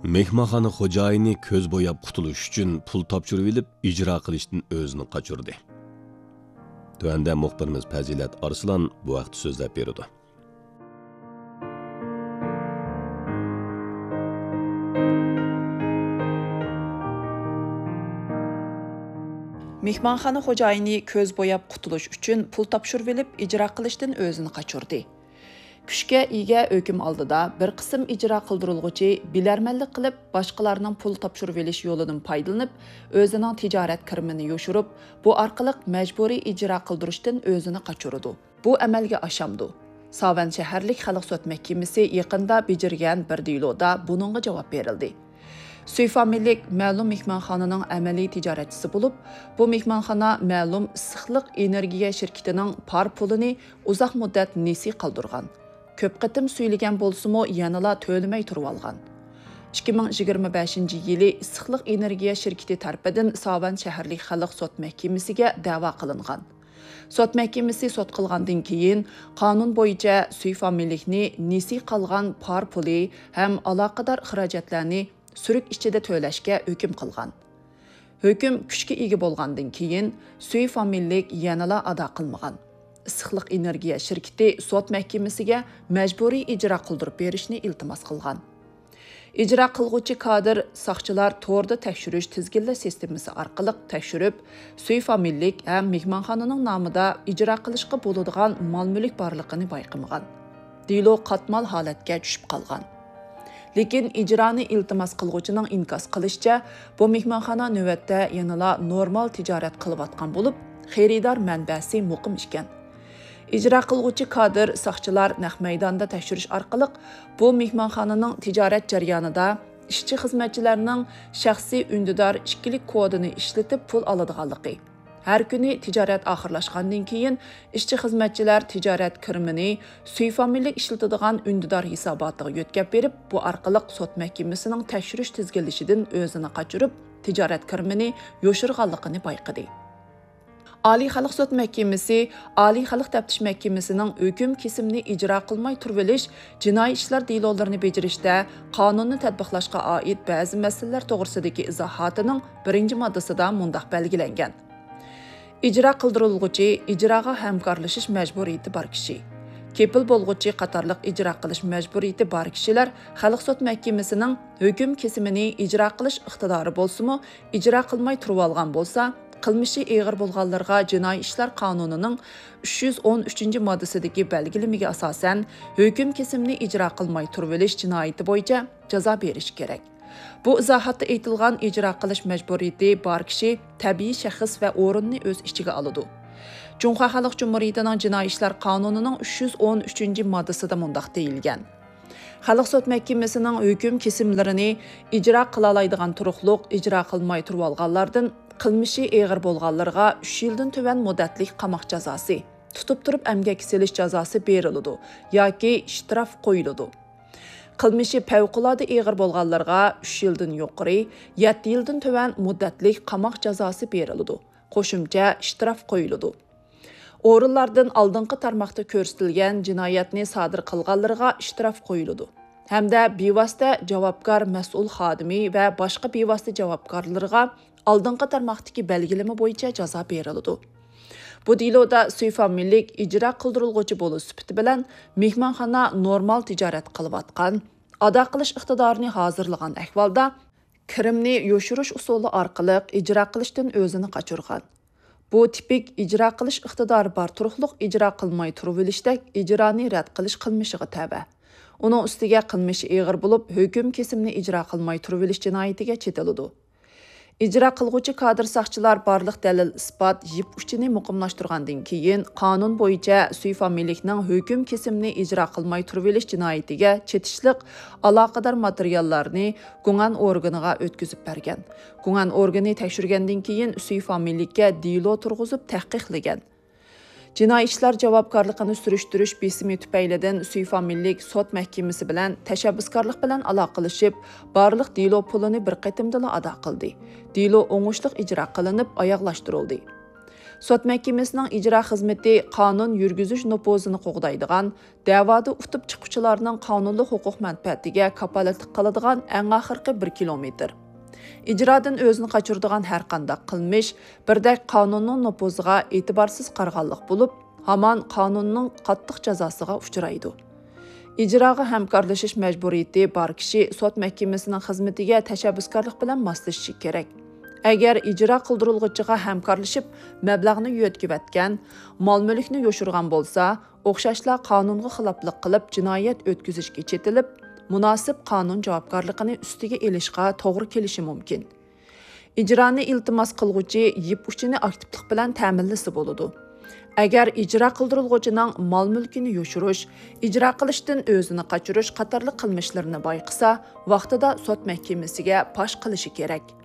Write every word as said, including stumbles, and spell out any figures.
مېھمانخانا خوجايىنى كۆز بوياپ قۇتۇلۇش ئۈچۈن پۇل تاپشۇرۇۋېلىپ، ئىجرا قىلىشتىن ئۆزىنى قاچۇردى. تۆۋەندە مۇخبىرىمىز پەزىلەت ئارسلان بۇ ھەقتە سۆزلەپ بېرىدۇ. مېھمانخانا خوجايىنى كۆز بوياپ قۇتۇلۇش ئۈچۈن پۇل تاپشۇرۇۋېلىپ، ئىجرا قىلىشتىن ئۆزىنى قاچۇردى. كۈچكە ئىگە ھۆكۈم ئالدىدا بىر قىسىم ئىجرا قىلدۇرۇلغۇچى بىلەرمەنلىك قىلىپ، باشقىلارنىڭ پۇل تاپشۇرۇۋېلىش يولىدىن پايدىلىنىپ، ئۆزىنىڭ تىجارەت كىرىمىنى يوشۇرۇپ، بۇ ئارقىلىق مەجبۇرىي ئىجرا قىلدۇرۇشتىن ئۆزىنى قاچۇرىدۇ. بۇ ئەمەلگە ئاشامدۇ؟ ساۋەن شەھەرلىك خەلق سوت مەھكىمىسى يېقىندا بېجىرگەن بىر دېلودا بۇنىڭغا جاۋاب بېرىلدى. سۈي فامىلىلىك مەلۇم مېھمانخانىنىڭ ئەمەلىي تىجارەتچىسى بولۇپ، بۇ مېھمانخانا مەلۇم ئىسسىقلىق ئېنېرگىيە شىركىتىنىڭ پار پۇلىنى ئۇزاق مۇددەت نېسى قالدۇرغان. كۆپ قېتىم سۈيلىگەن بولسىمۇ، يەنىلا تۆلىمەي تۇرۇۋالغان. ئىككى مىڭ يىگىرمە بەشىنچى يىلى ئىسسىقلىق ئېنېرگىيە شىركىتى تەرىپىدىن ساۋەن شەھەرلىك خەلق سوت مەھكىمىسىگە دەۋا قىلىنغان. سوت مەھكىمىسى سوت قىلغاندىن كېيىن، قانۇن بويىچە سۈي فامىلىلىكنى نېسى قالغان پار پۇلى ھەم ئالاقىدار خىراجەتلەرنى سۈرۈك ئىچىدە تۆلەشكە ھۆكۈم قىلغان. ھۆكۈم كۈچكە ئىگە بولغاندىن كېيىن، سۈي فامىلىلىك يەنىلا ئادا قىلمىغان. ئىسسىقلىق ئېنېرگىيە شىركىتى سوت مەھكىمىسىگە مەجبۇرىي ئىجرا قىلدۇرۇپ بېرىشنى ئىلتىماس قىلغان. ئىجرا قىلغۇچى كادىر ساقچىلار توردا تەكشۈرۈش تىزگىنلەش سىستېمىسى ئارقىلىق تەكشۈرۈپ، سۈي فامىلىلىك ھەم مېھمانخانىنىڭ نامىدا ئىجرا قىلىشقا بولىدىغان مال-مۈلۈك بارلىقىنى بايقىمىغان. دېلو قاتمال ھالەتكە چۈشۈپ قالغان. لېكىن ئىجرانى ئىلتىماس قىلغۇچىنىڭ ئىنكاس قىلىشىچە، بۇ مېھمانخانا نۆۋەتتە يەنىلا نورمال تىجارەت قىلىۋاتقان بولۇپ، خېرىدار مەنبەسى مۇقىم ئىكەن. ئىجرا قىلغۇچى كادىر ساقچىلار نەق مەيداندا تەكشۈرۈش ئارقىلىق بۇ مېھمانخانىنىڭ تىجارەت جەريانىدا ئىشچى-خىزمەتچىلەرنىڭ شەخسىي ئۈندىدار ئىككىلىك كودىنى ئىشلىتىپ پۇل ئالىدىغانلىقى، ھەر كۈنى تىجارەت ئاخىرلاشقاندىن كېيىن ئىشچى-خىزمەتچىلەر تىجارەت كىرىمىنى سۈي فامىلىلىك ئىشلىتىدىغان ئۈندىدار ھېساباتىغا يۆتكەپ بېرىپ، بۇ ئارقىلىق سوت مەھكىمىسىنىڭ تەكشۈرۈش تىزگىنلىشىدىن ئۆزىنى قاچۇرۇپ، تىجارەت كىرىمىنى يوشۇرغانلىقىنى بايقىدى. ئالىي خەلق سوت مەھكىمىسى ئالىي خەلق تەپتىش مەھكىمىسىنىڭ ھۆكۈم كېسىمىنى ئىجرا قىلماي تۇرۇۋېلىش جىنايى ئىشلار دېلولىرىنى بېجىرىشتە قانۇننى تەتبىقلاشقا ئائىت بەزى مەسىلىلەر توغرىسىدىكى ئىزاھاتىنىڭ بىرىنچى ماددىسىدا مۇنداق بەلگىلەنگەن: ئىجرا قىلدۇرۇلغۇچى ئىجراغا ھەمكارلىشىش مەجبۇرىيىتى بار كىشى. كېپىل بولغۇچى قاتارلىق ئىجرا قىلىش مەجبۇرىيىتى بار كىشىلەر خەلق سوت مەھكىمىسىنىڭ ھۆكۈم كېسىمىنى ئىجرا قىلىش ئىقتىدارى بولسىمۇ، ئىجرا قىلماي تۇرۇۋالغان بولسا، قىلمىشى ئېغىر بولغانلىرىغا جىنايى ئىشلار قانۇنىنىڭ ئۈچ يۈز ئون ئۈچىنچى ماددىسىدىكى بەلگىلىمىگە ئاساسەن، ھۆكۈم كېسىمنى ئىجرا قىلماي تۇرۇۋېلىش جىنايىتى بويىچە جازا بېرىشى كېرەك. بۇ ئىزاھاتتا ئېيتىلغان ئىجرا قىلىش مەجبۇرىيىتى بار كىشى تەبىئىي شەخس ۋە ئورۇننى ئۆز ئىچىگە ئالىدۇ. جۇڭخۇا خەلق جۇمھۇرىيىتىنىڭ جىنايى ئىشلار قانۇنىنىڭ ئۈچ يۈز ئون ئۈچىنچى ماددىسىدا مۇنداق دېيىلگەن: خەلق سوت مەھكىمىسىنىڭ ھۆكۈم كېسىملىرىنى ئىجرا قىلالايدىغان تۇرۇقلۇق ئىجرا قىلماي تۇرۇۋالغانلاردىن قىلمىشى ئېغىر بولغانلىرىغا ئۈچ يىلدىن تۆۋەن مۇددەتلىك قاماق جازاسى، تۇتۇپ تۇرۇپ ئەمگەككە سېلىش جازاسى بېرىلىدۇ ياكى شتراف قويۇلىدۇ. قىلمىشى پەۋقۇلئاددە ئېغىر بولغانلارغا ئۈچ يىلدىن يۇقىرى، يەتتە يىلدىن تۆۋەن مۇددەتلىك قاماق جازاسى بېرىلىدۇ، قوشۇمچە شتراف قويۇلىدۇ. ئورۇنلاردىن ئالدىنقى تارماقتا كۆرسىتىلگەن جىنايەتنى سادىر قىلغانلىرىغا شتراف قويۇلىدۇ ھەمدە بىۋاسىتە جاۋابكار مەسئۇل خادىمى ۋە باشقا بىۋاسىتە جاۋابكارلىرىغا ئالدىنقى تارماقتىكى بەلگىلىمە بويىچە جازا بېرىلىدۇ. بۇ دېلودا سۈي فامىلىلىك ئىجرا قىلدۇرۇلغۇچى بولۇش سۈپىتى بىلەن مېھمانخانا نورمال تىجارەت قىلىۋاتقان، ئادا قىلىش ئىقتىدارىنى ھازىرلىغان ئەھۋالدا، كىرىمنى يوشۇرۇش ئۇسۇلى ئارقىلىق ئىجرا قىلىشتىن ئۆزىنى قاچۇرغان. بۇ تىپىك ئىجرا قىلىش ئىقتىدارى بار تۇرۇقلۇق ئىجرا قىلماي تۇرۇۋېلىشتەك ئىجرانى رەت قىلىش قىلمىشىغا تەۋە. ئۇنىڭ ئۈستىگە قىلمىشى ئېغىر بولۇپ، ھۆكۈم كېسىمنى ئىجرا قىلماي تۇرۇۋېلىش جىنايىتىگە چېتىلىدۇ. ئىجرا قىلغۇچى كادىر ساقچىلار بارلىق دەلىل-ئىسپات يىپ ئۇچىنى مۇقىملاشتۇرغاندىن كېيىن، قانۇن بويىچە سۈي فامىلىلىكنىڭ ھۆكۈم كېسىمنى ئىجرا قىلماي تۇرۇۋېلىش جىنايىتىگە چېتىشلىق ئالاقىدار ماتېرىياللارنى گۇڭئەن ئورگىنىغا ئۆتكۈزۈپ بەرگەن. گۇڭئەن ئورگىنى تەكشۈرگەندىن كېيىن، سۈي فامىلىلىككە دېلو تۇرغۇزۇپ تەھقىقلىگەن. جىنايى ئىشلار جاۋابكارلىقىنى سۈرۈشتۈرۈش بېسىمى تۈپەيلىدىن سۈي فامىلىلىك سوت مەھكىمىسى بىلەن تەشەببۇسكارلىق بىلەن ئالاقىلىشىپ، بارلىق دېلو پۇلىنى بىر قېتىمدىلا ئادا قىلدى. دېلو ئوڭۇشلۇق ئىجرا قىلىنىپ ئاياغلاشتۇرۇلدى. سوت مەھكىمىسىنىڭ ئىجرا خىزمىتى قانۇن يۈرگۈزۈش نوپۇزىنى قوغدايدىغان، دەۋادا ئۇتۇپ چىققۇچىلارنىڭ قانۇنلۇق ھوقۇق مەنپەئەتىگە كاپالەتلىك قىلىدىغان ئەڭ ئاخىرقى بىر كىلومېتىر. ئىجرادىن ئۆزىنى قاچۇرىدىغان ھەرقانداق قىلمىش بىردەك قانۇننىڭ نوپۇزىغا ئېتىبارسىز قارىغانلىق بولۇپ، ھامان قانۇننىڭ قاتتىق جازاسىغا ئۇچرايدۇ. ئىجراغا ھەمكارلىشىش مەجبۇرىيىتى بار كىشى سوت مەھكىمىسىنىڭ خىزمىتىگە تەشەببۇسكارلىق بىلەن ماسلىشىشى كېرەك. ئەگەر ئىجرا قىلدۇرۇلغۇچىغا ھەمكارلىشىپ، مەبلەغنى يۆتكىۋەتكەن، مال-مۈلۈكنى يوشۇرغان بولسا، ئوخشاشلا قانۇنغا خىلاپلىق قىلىپ جىنايەت ئۆتكۈزۈشكە چېتىلىپ، مۇناسىپ قانۇن جاۋابكارلىقىنى ئۈستىگە ئېلىشقا توغرا كېلىشى مۇمكىن. ئىجرانى ئىلتىماس قىلغۇچى يىپ ئۇچىنى ئاكتىپلىق بىلەن تەمىنلىسە بولىدۇ. ئەگەر ئىجرا قىلدۇرۇلغۇچىنىڭ مال-مۈلكىنى يوشۇرۇش، ئىجرا قىلىشتىن ئۆزىنى قاچۇرۇش قاتارلىق قىلمىشلىرىنى بايقىسا، ۋاقتىدا سوت مەھكىمىسىگە پاش قىلىشى كېرەك.